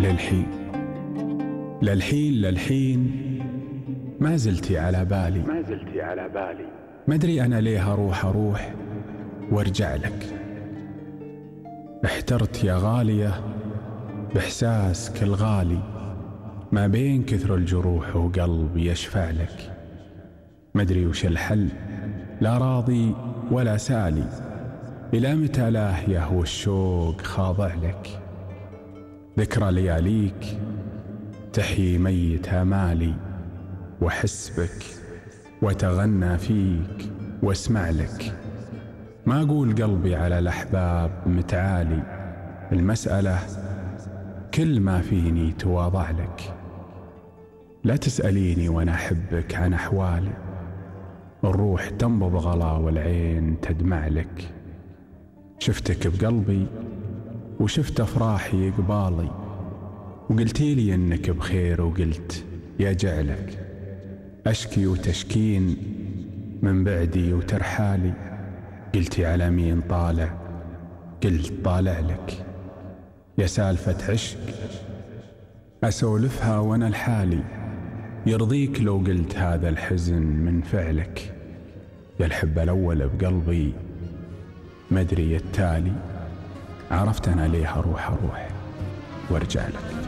للحين للحين ما زلتي على بالي، ما أدري أنا ليه أروح وارجع لك. احترت يا غالية بإحساسك الغالي، ما بين كثر الجروح وقلبي يشفع لك. ما أدري وش الحل، لا راضي ولا سالي، إلى متى لاهية والشوق خاضع لك. ذكرى لياليك تحيي ميت آمالي، وأحس بك وأتغنى فيك واسمع لك. ما أقول قلبي على الأحباب متعالي، المسألة كل ما فيني تواضع لك. لا تسأليني وأنا أحبك عن أحوالي، الروح تنبض غلا والعين تدمع لك. شفتك بقلبي وشفت أفراحي قبالي، وقلتي لي إنك بخير وقلت يا جعلك. أشكي وتشكين من بعدي وترحالي، قلتي على مين طالع، قلت طالع لك. يا سالفة عشق أسولفها وأنا لحالي، يرضيك لو قلت هذا الحزن من فعلك. يا الحب الأول بقلبي ما أدري التالي، عرفت أنا ليه أروح وارجع لك.